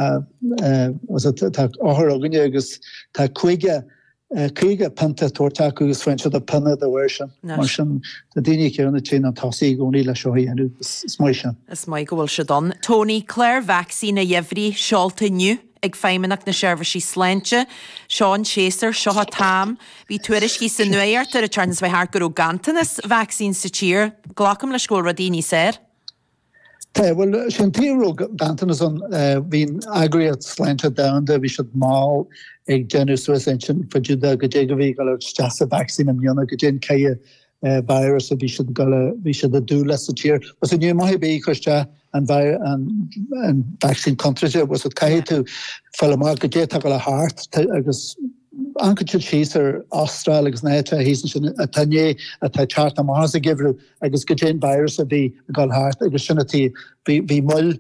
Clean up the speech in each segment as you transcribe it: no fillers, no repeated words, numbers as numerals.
Tá othair againne agus tá 50 50 pionta tabhairt acu agus faigheann siad pionna dá bharr sin. Mar sin, tá daoine céanna tinn an tosaigh i gcónaí le seo a dhéanamh. Is maith sin. Is maith go bhfuil siad ann. Tony, clár vacsaíne gheimhridh seolta inniu ag Feidhmeannacht na Seirbhísí Sláinte. Seo an séasúr, seo an t-am. Bhí tuairiscí sa nuacht ar an tseachtain seo thart go raibh ganntanas vacsaín sa tír. Glacaim leis go bhfuil rudaí níos fhearr. Tá, bhuel, sé an tuige a raibh ganntanas ann, bhí an Eagraíocht Sláinte Domhanda, bhí siad mall ag déanamh suas intinn fá dtaobh de goidé a bhí ag dul isteach sa vacsaín i mbliana, goidé an cineál virus a bhí siad ag dul a, bhí siad ag dúil leis sa tír. Bhuel, ní maith ar bith cur isteach an an vacsaín contúirteach, bhuel, caithfidh tú fáil amach goidé atá ag dul thart agus amharcann siad síos ar Astráil agus na háiteacha thíos ansin atá i ndiaidh, atá ag teacht amach as an gheimhreadh. agus goidé an virus a bhí ag dul thart agus sin an tuige, bhí, bhí moill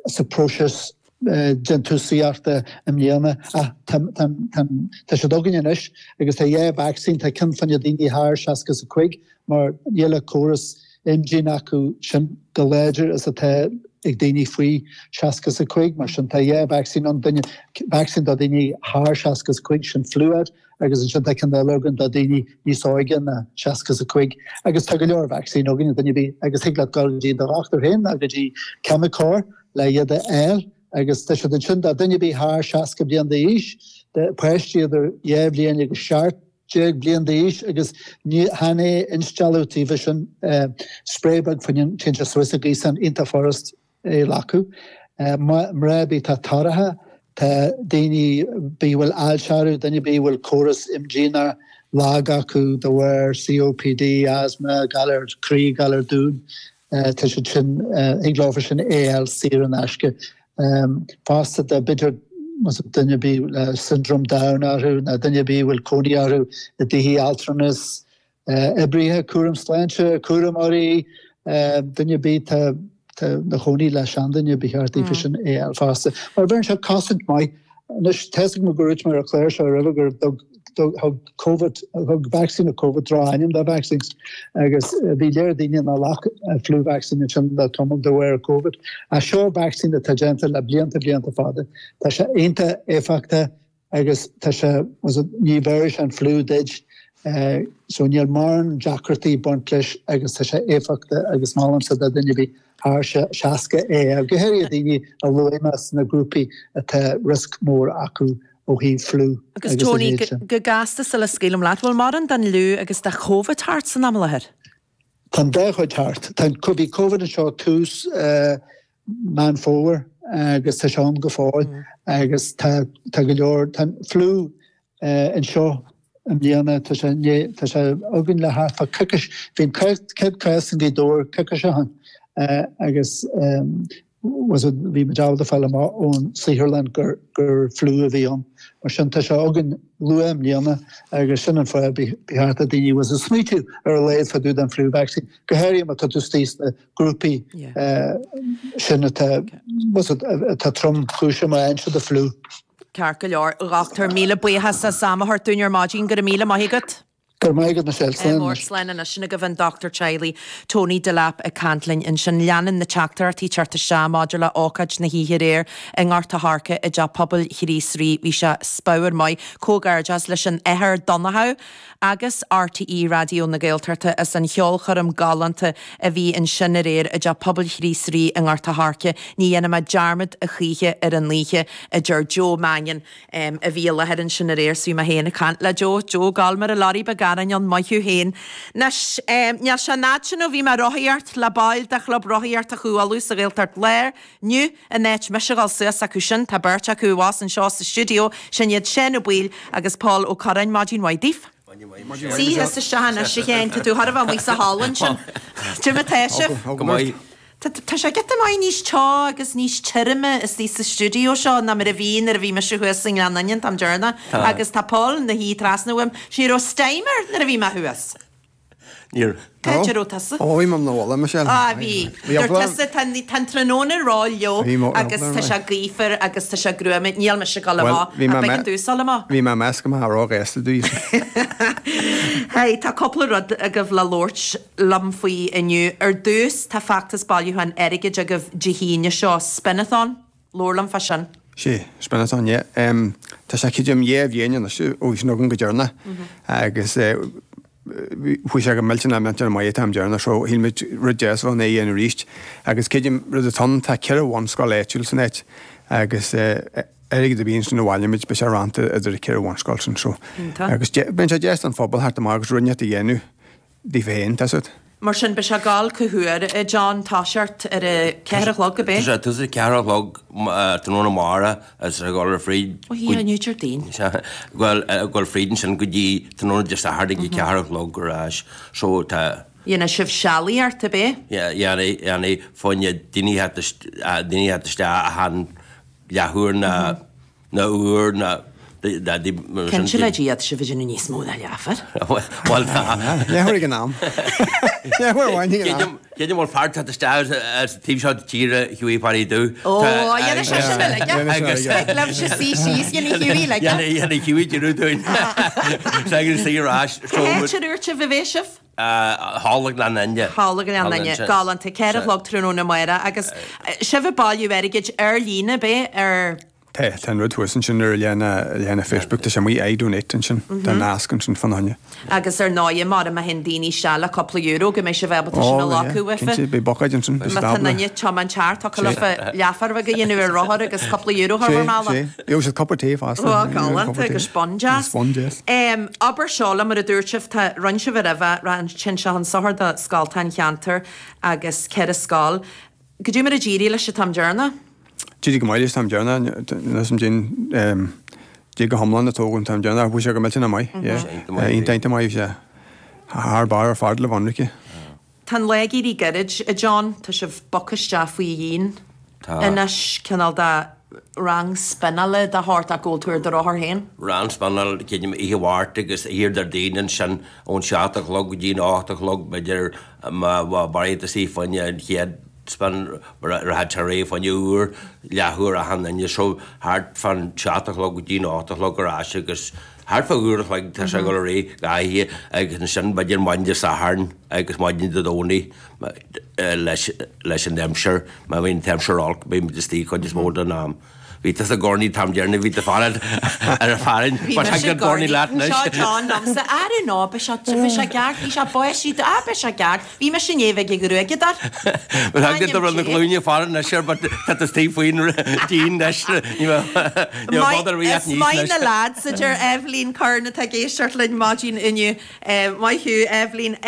sa próiseas déantúsaíochta i mbliana ach tá, tá, tá, tá siad againn anois agus tá dhá vacsaín, tá ceann fá choinne daoine thar 65 mar níl an córas imdhíon acu sin chomh láidir is atá ag daoine faoi 65 mar sin tá dhá vacsaín ann, duine, vacsaín do daoine thar 65 sin Fluad Agus ansin tá ceann eile againn do daoine níos óige ná 65. Agus tá go leor vacsaín againn, duine ar bith, agus thig leat dul go dtí do dhochtúir féin nó go dtí ceimiceoir le iad a fháil. Agus tá siad ansin do duine ar bith thar 60 bliain d'aois, do pháistí idir 2 bhliain agus 17 bliain d'aois agus ní chan é instealladh taoibhe sin, spray beag fá choinne, téann sé suas sa ghaosán iontach furast. é a ghlacadh. Mná ar bith atá torrach, tá daoine ar bith a bhfuil ailse orthu, duine ar bith a bhfuil córas imdhíonach lag acu de bharr COPD, asthma, galar croí, galar dúin, tá siad sin, thig leofa sin é a fháil saor in aisce. Fosta do b'fhéidir duine ar bith le syndrome Down orthu nó duine ar bith a bhfuil cónaí orthu i dtithe altranais, Oibrithe cúram sláinte, cúramóirí, duine ar bith atá ina chónaí le seanduine, ba cheart daofa sin é a fháil fosta. Mar bheireann sé cosaint maith. Anois, tá 'fhios agam gur dhúirt mé ar an chlár seo roimhe gur thug Covid, thug vacsaín na Covid droch-ainm do vaccines agus bhí léir daoine nár ghlac an flu vaccine ansin le tamall de bharr Covid. Ach seo vacsaín atá déanta le blianta blianta fada. Tá sé iontach éifeachtach. agus tá sé, ní bheirfidh sé an fliú duit, so níl mórán deacrachtaí ag baint leis agus tá sé éifeachtach agus molaimse do duine ar bith thar 60 é, go háirithe daoine a luaigh mé sna grúpaí atá riosca mór acu ó thaobh fliú Agus agus a Tony, leithéid sin. go gasta sula scaoilim leat, bhfuil mórán den fhliú agus de Covid thart san am i láthair? Tá an dá chuid thart. Tá, bhí Covid anseo tús Meán Fómhair agus tá sé ann go fóill agus tá tá go leor tá an fliú anseo i mbliana tá sé tá sé againn le thart fá coicís bhí an chéad cás i nGaoth Dobhair coicís ó shin agus was it bhí muid ábalta fáil amach ón saotharlann gur gur fliú a bhí ann mar sin tá sé againn luath i mbliana agus sin an fáth ba cheart do daoine was it smaoitiú ar a laghad fá dtaobh den flu vaccine go háirithe má tá tú istigh sna grúpaí sin atá atá tromchúiseach má fhaigheann siad an fliú. Ceart go leor, a dhochtúir, míle buíochas as am a thabhairt dúinn ar maidin. Go raibh míle maith agat. Go raibh maith agat, Michelle. Slán anois. Slán anois. Sin agaibh an dochtúir teaghlaigh, Tony Delap ag caint linn ansin. Leanann na teachtaireachtaí teacht isteach maidir le ócáid na hoíche aréir i nGort a' Choirce i dTeach Pobail Chríost Rí. Bhí sé spiormhar maith. Comhghairdeas leis an Athair Donnchadh. agus RTÉ Raidió na Gaeltachta as an cheolchoirm galánta a bhí ansin aréir i dTeach Pobail Chríost Rí i nGort a' Choirce. Ní dhéanfaidh mé dearmad a choíche ar an oíche, a deir Joe Mannion a bhí i láthair ansin aréir. 'S bhí mé féin ag caint le Joe. Joe ag gol mar a lorry beag aráin ann, maith thú féin. Anois, níl sé an fhad sin ó bhí mé ag rothaíocht le baill de Chlub Rothaíochta Chú Uladh sa Ghaeltacht Láir. Inniu, in áit mise a dhul suas acu sin, tá beirt acu abhus anseo sa stiúideo, sin iad Seán Ó Baoill agus Pól Ó Curráin. Maidin mhaith daoibh. Suigh thusa isteach anois, a Sheáin, tá tú chóir a bheith amuigh sa halla ansin. Cad é mar atá sibh? Go maith. Tá sé giota maith níos teo agus níos tirime istigh sa stiúideo seo ná mar a bhí nuair a bhí mise thuas i nGleann Fhinne an t-am deireanach. Agus tá Pól ina shuí trasna uaim. Ní raibh steam air nuair a bhí mé thuas. Níor. Cá háit a raibh tusa? Ó, bhí mé 'na bhaile, Michelle. Á, bhí. Dúirt tusa, tá an tráthnóna ró-fhliuch agus tá sé gaofar agus tá sé gruama, níl mise ag dul amach. Ach b'éigean domhsa dul amach. Bhí mé ag meas go mbeifeá róghasta daoibh. Hey, tá cúpla rud agaibh le labhairt liom faoi inniu. Ar dtús, tá feachtas bailiúcháin airgid agaibh Dé hAoine seo, Spinathon. Labhair liom fá sin. Sé, spin-a-thon, yeah. Tá sé creidim dhá bhliain anois ó bhí sin againn go deireanach agus chuaigh sé go millteanach millteanach maith an t-am deireanach so shíl muid rud deas a bheadh ann é a dhéanamh arís. Agus creidim rud atá ann, tá ceithre bhunscoil áitiúil san áit agus airgead ar bith ansin a bhaileoidh muid beidh sé roinnte idir an ceithre bhunscoil sin so. Agus bíonn sé deas don phobal theacht amach agus rud inteacht a dhéanamh. daofa féin, tá 's agat. Mar sin, beidh sé ag gabháil cá huair, a John, toiseacht ar a ceathair a chlog, ab é? Tá sé ag tosú ag ceathair a chlog tráthnóna amárach agus tá sé ag dul ar fríd. Ó hí, inniu Déardaoin. Sea, ag dul fríd ansin go dtí tráthnóna Dé Sathairn ag a ceathair a chlog ar ais. So tá. Dhéanfaidh sibh sealaíocht, ab é? Yeah, dhéanfaidh, dhéanfaidh, fá choinne daoine a theacht, daoine a theacht isteach achan leathuair ná. ná uair ná Cinnte le Dia tá sibh ag déanamh níos mó ná leathuair. Bhuel tá. Leathuair ag an am. Leathuair amháin ag an am. Creidim bhfuil fear teacht isteach as an taobh seo de tíre Hughie Pháidí Dubh. Ó, dhéanfaidh sé sin uilig. Thig libhse suí síos, dhéanfaidh Hughie uilig. Dhéanfaidh Hughie deireadh dúinn. Agus suí ar ais. Cá háit a ndúirt sibh a bheidh sibh? Thall i nGleann Fhinne. Thall i nGleann Fhinne. Galánta. Ceithre a chlog tráthnóna amárach agus sibh ag bailiú airgid ar líne, ab é? Ar. Tá, tá an rud thuas ansin ar leathanach Facebook, tá sé amuigh iDonate ansin, tá nasc ansin fána choinne. Agus ar ndóigh, mara má théann daoine isteach le cúpla euro go mbeidh sibh ábalta sin a ghlacadh uafa. Cinnte, beidh buicéid ansin, beidh Má tá stábla. duine tiomáint thart, thiocfadh leofa leathuair bheag a dhéanamh ar rothar agus cúpla euro a chur bhur mbealach. Sé, sé. Gheobhaidh siad cupa tae fosta. Ó, galánta agus bun deas. Bun deas. Abair seo liom, mar a dúirt sibh, tá, rinne sibh roimhe, téann sé chun sochair do scoltacha an cheantair agus ceithre scoil. Goidé mar a d'éirigh leis an t-am deireanach? D'éirigh go maith leis an t-am deireanach, níl 'fhios a'm cén go hiomlán a tógadh an t-am deireanach, bhí sé go millteanach maith, yeah. Iontach, iontach maith, bhí sé thar barr ar fad le bheith ionraice. Tá an lá ag éirí gairid, a John, tá sibh bogtha isteach faoi dhíon anois, cineál de rang spionála de shórt ach go bhfuil tú ar do rothar féin. Rang spionála, creidim, oíche Mháirt agus oíche Déardaoin ansin ón seacht a chlog go dtí an ocht a chlog, b'fhéidir má bheidh tú istigh fá choinne an chéad spin rachaidh sé ar aghaidh fá choinne uair, leathuair achan duine so thart fán seacht a chlog go dtí an ocht a chlog ar ais agus thart fá uair a chloig tá sé ag dul ar aghaidh gach oíche agus ansin b'fhéidir maidin Dé Sathairn agus maidin Dé Domhnaigh leis leis an aimsir má bhíonn an t-aimsir olc bíonn muid istigh cuid is mó den am. Bhí tusa i gCornaí an t-am deireanach, bhí tú fanacht ar an fearann. Bhí mise i gCornaí, seo John liomsa, I don't know, beidh sé, bhí sé ceart, bhí sé báistí, ah beidh sé ceart, bhí mise i ndiaidh bheith ag gruaigeadóir. But thug tú na glúine fara anois air, but tá tú istigh faoin díon anois, ní bheadh bother ar bith Is maith na lads, a deir Eibhlín Curran atá ag éisteacht linn maidin inniu. Maith thú, Eibhlín.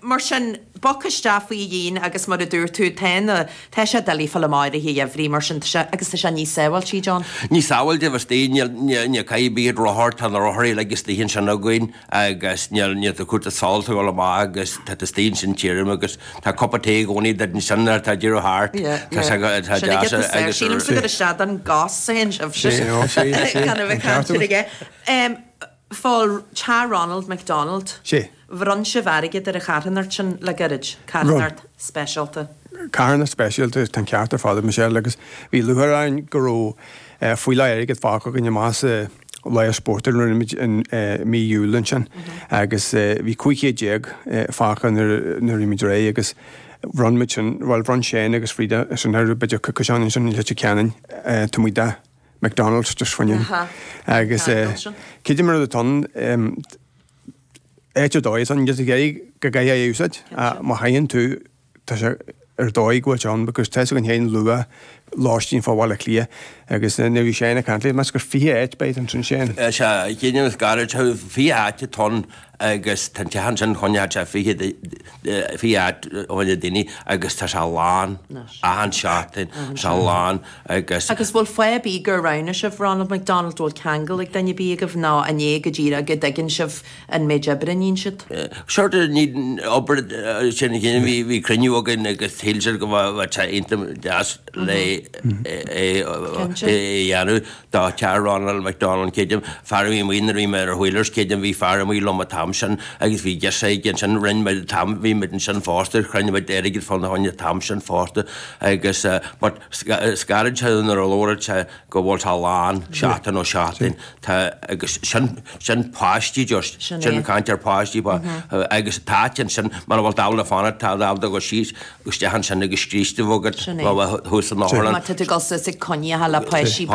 Mar sin, bogtha isteach faoi dhíon agus mar a dúirt tú, tá na, Tá sé doiligh fáil amach i rith an gheimhridh, mar sin tá sé, agus tá sé níos sábháiltí, John. Níos sábháilte a bheith istigh, níl, níl caithfidh bíonn rothar, tá na rothair uilig istigh ansin againn agus níl, níl tú cúrsa solais ag dul amach agus tá tú istigh ansin tirim agus tá cupa tae i gcónaí duit ansin nuair atá deireadh thart. Yeah, Tá sé, yeah. tá Sin deas agat is agus. Sílimse gur isteach don gcos a théann sibhse. Sé, ó, sé, sé. Gan a bheith An ceart caint agat. aige. Fál Teach Ronald McDonald. Sé. Bhronn sibh airgead ar an charthanacht sin le gairid, carthanacht speisialta. Carthanacht speisialta, tá an ceart ar fad ag Michelle agus bhí lúcháir orainn go raibh fuíollach airgid fágtha againn amach sa lá spóirt a rinne muid i mí Iúil ansin agus bhí 1500 fágtha nuair a bhí muid réidh agus bhronn muid sin, bhuel bhronn Shane agus Frida sin ar b'fhéidir ciseán ansin i Leitir Ceanainn taobh amuigh de McDonald's just faoin agus creidim an rud atá ann áit ar dóigh ann just ag iarraidh go gcaithfidh é a úsáid má chaitheann tú tá sé ar dóigh go bhfuil sé ann because tá 'fhios againn féin luach lóistín fá Bhaile Átha Cliath agus nuair a bhí Shane ag caint léi meas gur 20 áit b'fhéidir ansin Shane. Sea, creidim is gairid 20 áit atá ann agus tá an teach ansin choinneoidh sé 20 20 áit choinne daoine agus tá sé lán achan seachtain, tá sé lán agus. Agus bhfuil fáth ar bith gur roghnaigh sibh Ronald McDonald, bhfuil ceangal ag duine ar bith agaibh nó an é go díreach go dtuigeann sibh an méid oibre a níonn siad? Sort of ní obair sin a chéile, bhí bhí cruinniú againn agus shíl siad go mbeadh sé iontach deas le é a dhéanamh do teach Ronald McDonald creidim, fear a bhí amuigh nuair a bhí mé ar Wheelers creidim bhí fear amuigh liom an t-am sin agus bhí girseach aige ansin rinne muid an t-am bhí muid ansin fosta chruinnigh muid airgead fána choinne an t-am sin fosta agus but Is gairid sé nuair a labhraíonn sé go bhfuil sé lán seachtain ó sheachtain. Tá agus sin sin páistí just Sin sin é. caint ar páistí ba agus tá áit ansin mura bhfuil tú ábalta fanacht tá tú ábalta dul síos isteach ansin agus scríste bheith agat Sin é. thuas san otharlann. Má tá tú ag dul suas ag coinníocha le páistí beaga.